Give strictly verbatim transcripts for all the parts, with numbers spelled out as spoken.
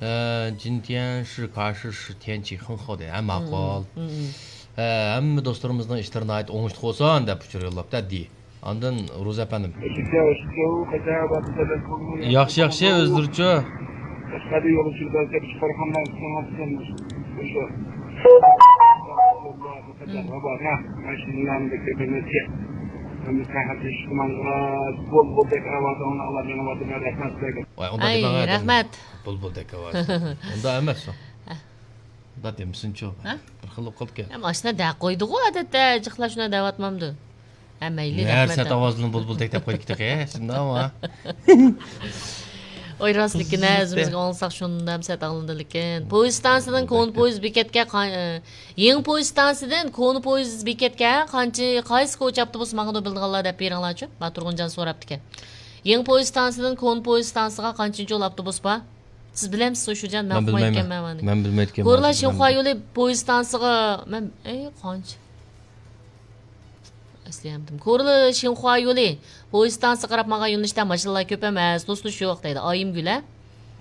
ئە، جىنتيەن شى كاشى شى تيەنچى خېڭخاۋ دەيدۇ. ھە، ماقۇل. ھە، ھەممە دوستلىرىمىزنىڭ ئىشلىرى ناھايىتى ئوڭۇشلۇق بولسۇن دەپ ئۇچۇر يوللاپتۇ، دى. ئاندىن روزا ئەپەندىم. ياخشى، ياخشى، ئۆزلىرىچۇ؟ ۋاي، ئۇنداق ئەي، دېمەڭ، ئەدەم. رەھمەت. بۇلبۇلدەك ئاۋاز. ئۇنداق ئەمەس ئۇ. ئۇنداق دېمىسۇنچۇ. ھە؟ بىر خىل بولۇپ قالىدىكەن. ھەم ئاشۇنداق دەپ قويدىغۇ، ئادەتتە جىقلار شۇنداق دەۋاتمامدۇ؟ ھە، مەيلى، رەھمەت. سەت ئاۋازلىنىپ بۇلبۇلدەك دەپ قويدۇكتى، شۇنداقمۇ؟ ئوي، راست لېكىن، ھە، ئۆزىمىزگە ئاڭلىساق شۇنداق سەت ئاڭلىنىدۇ لېكىن. پويىز ئىستانسىدىن كونا پويىز بېكەتكە قا-، ئە، يېڭى پويىز ئىستانسىدىن كونا پويىز بېكەتكە قانچە، قايسى كوچا ئاپتوبۇس ماڭىدۇ بىلىدىغانلار دەپ بېرىڭلارچۇ. ما تۇرغۇنجان سوراپتىكەن. يېڭى پويىز ئىستانسىدىن كونا پويىز ئىستانسىغا قانچىنچە يول ئاپتوبۇس بار؟ سىز بىلەمسىز، شۇجان؟ مەن ئۇقمايدىكەنمەن مانا. مەن بىلمەيدىكەنمەن. كورلا شىنخۇا يولى پويىز ئىستانسىغا مەن، ئەي، قانچە؟ ئەسلىيەمدىم. كورلا شىنخۇا يولى پويىز ئىستانسىغا قاراپ ماڭغان يۆنىلىشتە ماشىنىلار كۆپ ئەمەس، توسۇلۇش يوق دەيدۇ. ئايىمگۈل، ھە؟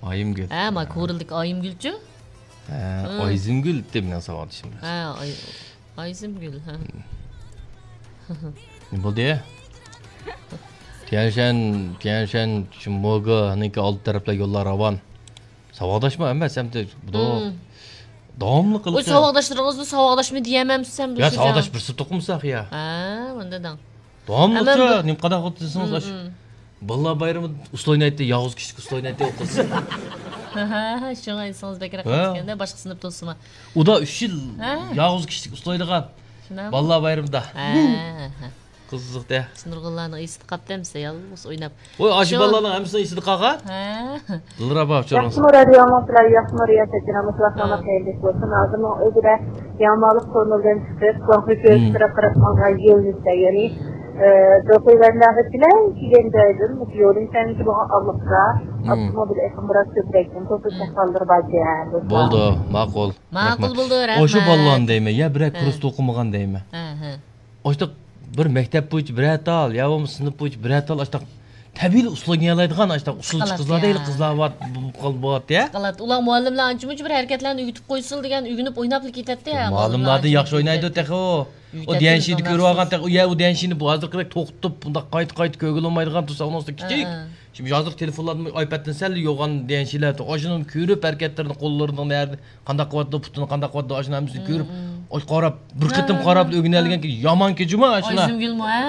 ئايىمگۈل. ھە، ما كورلىدىكى ئايىمگۈلچۇ؟ ھە، ئايزىمگۈل دەپ مېنىڭ ساۋاقدىشىم. ھە، ئاي-، ئايزىمگۈل، ھە. نېمە بولدى؟ تيەنشەن، تيەنشەن، شۇ موگېنىڭكى ئالدى تەرەپلەر يوللار راۋان. ساۋاقداشمۇ ئەمەس، ئەمدى بۇ داۋاملىق قىلىپ. ساۋاقداشلىرىڭىزنى ساۋاقداشمۇ دېيەلمەمسىز ئەمدى؟ يا، ساۋاقداش بىر سىنىپتا ئوقۇمىساق يا. ھە، ئۇنداق دەڭ. داۋاملىقچە نېمە قانداق قىلىپ دېسىڭىز، ئاشۇ بالىلار بايرىمىدا ئۇسسۇل ئوينايتتى، يالغۇز كىشىلىك ئۇسسۇل ئوينايتتى ئۇ قىز. ھە، شۇڭا ئېسىڭىز بەكرەك قېلىپ كەتكەندە، باشقا سىنىپتا ئوقۇسىمۇ. ئۇدا ئۈچ يىل يالغۇز كىشىلىك ئۇسسۇل ئوينىغان. شۇنداقمۇ؟ بالىلار بايرىمىدا. ھە، ھە. قىزىق دە. نۇرغۇنلارنىڭ ئېسىدە قاپتۇ ئەمىسە، يالغۇز ئويناپ. ۋاي، ئاشۇ بالىلارنىڭ ھەممىسىنىڭ ئېسىدە قالغان؟ ھە. دىلرەبا ئۇچۇرىڭىز. ياقسىمۇ رادىيو ئاڭلىۋاتقانلار، ياقسىمۇ رىياسەتچى نامۇسلار، ھە. سالامەت خەيرلىك بولسۇن. ھازىرنىڭ ئۆزىدە يامالىق توننېلدىن چىقىپ، گۇاڭخې كۆۋرۈك تەرەپ قاراپ ماڭغان يۆنىلىشتە، يەنى، ئە، دوخۇيۋەنلەرگە بىلەن كېلگەن جايدىن يولىڭ سەنگە بولغان ئاللىقتا ئاپتوموبىل ئېقىم بىراز كۆپرەككەن، توسۇش ئەھۋاللىرى باركەن، دوستلار. بولدى، ماقۇل. ماقۇل بولدى، رەھمەت. ئاشۇ بالىلارنى دەيمەن، يا بىرەر كۇرستا ئوقۇمىغان دەيمەن. ھە، ھە. ئاشتاق بىر مەكتەپ بويىچە بىرەر تال، يا بولمىسا سىنىپ بويىچە بىرەر تال، ئاشتاق تەبىئىي ئۇسسۇل ئوينىيالايدىغان، ئاشتاق ئۇسسۇلچى قىزلار دەيلى، قىزلار بار، بولۇپ قالدى، بولاتتى يا. ئۇلار مۇئەللىملەر ئانچە-مۇنچە بىر ھەرىكەتلەرنى ئۆگىتىپ قويسىلا دېگەن، ئۆگىنىپ ئويناپلا كېتەتتى يا. مۇئەللىملاردىن ياخشى ئوينايدۇ تېخى ئۇ. ئۇ ديەنشىنى كۆرۈۋالغان تېخى، ئۇ يە ئۇ ديەنشىنى بۇ ھازىرقىدەك توختىتىپ، بۇنداق قايتا-قايتا كۆرگىلى بولمايدىغان تۇرسا، ئۇنىڭ ئۈستىگە كىچىك. شۇ ھازىرقى تېلېفونلاردىمۇ، ئايپەدتىن سەل يوغان ديەنشىلەر، ئاشۇنىڭ كۆرۈپ ھەرىكەتلىرىنى، قوللىرىنىڭ نەدە، قانداق قىلىۋاتىدۇ، پۇتىنى قانداق قىلىۋاتىدۇ، ئاشۇنى ھەممىسىنى كۆرۈپ، ئاي، قاراپ، بىر قېتىم قاراپ ئۆگىنەلىگەنكى يامان كېچىمۇ ئاشۇنا. ئايزىمگۈلمۇ، ھە؟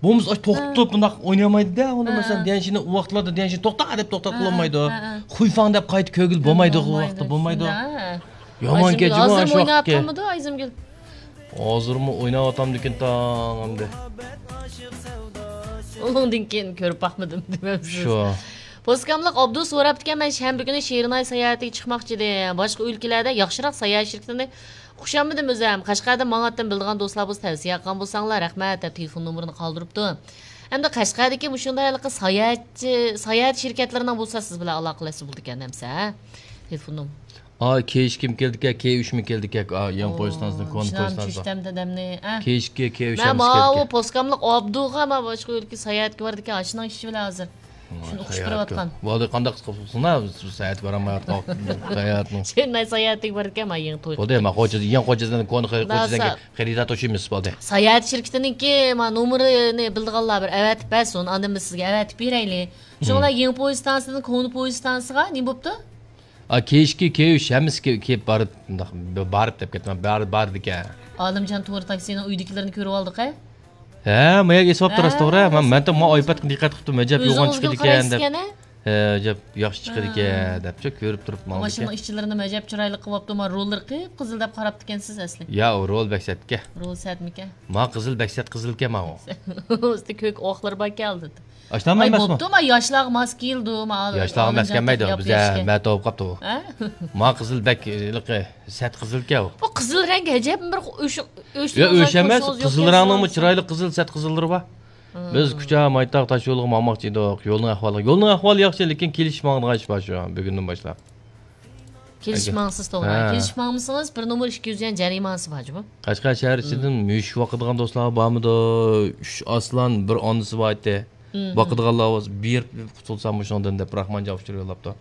بولمىسا ئاش توختىتىپ بۇنداق ئوينىيالمايدۇ-دە، ئۇنى مەسىلەن، ديەنشىنى ئۇ ۋاقىتلاردا ديەنشىنى توختا دەپ توختاتقىلى بولمايدۇ. خۇيفاڭ دەپ قايتا كۆرگىلى بولمايدۇ، ئۇ ۋاقىتتا بولمايدۇ. يامان كېچىمۇ ئاشۇ ۋاقىتكى. ھازىرمۇ ئويناۋاتامدىكىن تاڭ ئەمدى. ئۇنىڭدىن كېيىن كۆرۈپ باقمىدىم دېمەمسىز. شۇ. پوسكاملىق ئابدۇ سوراپتىكەن، مەن شەنبە كۈنى شېرىناي ساياھەتىگە چىقماقچى ئىدىم. باشقا ئۆلكىلەردە ياخشىراق ساياھەت شىركىتىنى ئۇقۇشالمىدىم ئۆزۈم. قەشقەردىن ماڭاتتىم، بىلىدىغان دوستلار بولسا تەۋسىيە قىلغان بولساڭلار رەھمەت دەپ تېلېفون نومۇرىنى قالدۇرۇپتۇ. ئەمدى قەشقەردىكى مۇشۇنداق ھېلىقى ساياھەتچى، ساياھەت شىركەتلىرىنىڭ بولسا سىز بىلەن ئالاقىلەشسە بولىدىكەن ئەمسە، ھە؟ تېلېفون نومۇرى. ئا، كېيىشكىم كېلىدىكەن، كېيىشمۇ كېلىدىكەن، ئا، يېڭى پويىزتانسىدىن، كونا پويىزتانسىغا. كېيىشكە كېيىش مەن ماۋۇ پوسكاملىق ئابدۇغا ما باشقا ئۆلكە ساياھەتكە بارىدىكەن، ئاشۇنىڭ ئىشى بىلەن ھازىر. شۇنى ئۇقۇشتۇرۇۋاتقان. بولدى، قانداق قىلسۇن، ساياھەتكە بارالمايۋاتقان ساياھەتنىڭ. شېرىناي ساياھەتكە بارىدىكەن، ما يېڭى توي. بولدى، ما خوجا، يېڭى خوجا، كونا خوجا، خېرىدار توشۇيمىز، بولدى. ساياھەت شىركىتىنىڭكى ما نومۇرىنى بىلىدىغانلار بىر ئەۋەتىپ بەرسۇن، ئاندىن بىز سىزگە ئەۋەتىپ بېرەيلى. شۇڭا يېڭى پويىزتانسىدىن كونا پويىزتانسىغا نېمە بوپتۇ؟ ئا، كېيىشكە كېيىش، ھەممىسى كېيىپ بارىپ، بار دەپ كەتمە، بار، باردىكەن. ئالىمجان تورى تاكسىنىڭ ئۆيدىكىلىرىنى كۆرۈۋالدۇق ھە؟ ھە، ماياك ئېسىپ ئاپتۇ راست توغرا. مەن، مەن ما ئايپادقا دىققەت قىپتۇ، مەجەپ يوغان چىقىدىكەن دەپ. ھە، ئەجەب ياخشى چىقىدىكەن دەپچۇ كۆرۈپ تۇرۇپ ماڭىدىكەن. ماشىنىنىڭ ئىچلىرىنى مەجەپ چىرايلىق قىلىۋاپتۇ، ما روللىرى قىپقىزىل دەپ قاراپتىكەنسىز ئەسلى. يا، ئۇ رول بەك سەتكەن. رول سەتمىكەن؟ ما قىزىل بەك سەت قىزىلكەن ماۋۇ. ئۈستى كۆك ئوقلىرى باركەن ئالدىدا. ئاشۇنداقمۇ ئەمەسمۇ؟ بوپتۇ، ما ياشلارغا ماس كېلىدۇ، ما. ياشلارغا ماس كەلمەيدۇ، بىزە مەتە بولۇپ قاپتۇ. ھە؟ ما قىزىل بەك ھېلىقى سەت قىزىلكەن ئۇ. بۇ قىزىل رەڭ ئەجەب بىر ئۆش-، ئۆش-، يا، ئۆش ئەمەس، قىزىل رەڭنىڭمۇ چىرايلىق قىزىل سەت قىزىللىرى بار. بىز كۇچا، مايتاغ تاش يولىغا ماڭماقچى ئىدۇق. يولنىڭ ئەھۋالى، يولنىڭ ئەھۋالى ياخشى، لېكىن كېلىشىپ ماڭىدىغان ئىش بار شۇ، بۈگۈندىن باشلاپ. كېلىشىپ ماڭسىز توغرا. ھە. كېلىشىپ ماڭمىسىڭىز، بىر نومۇر ئىككى يۈز يۈەن جەرىمانىسى بار جۇمۇ. قەشقەر شەھەر ئىچىدىن مۈشۈك باقىدىغان دوستلار بارمىدۇ؟ ئۈچ ئاسلان، بىر ئانىسى بار ئىدى. باقىدىغانلار بولسا، بېرىپ قۇتۇلسام مۇشۇنىڭدىن دەپ، راخمانجان ئۇچۇر يوللاپتۇ.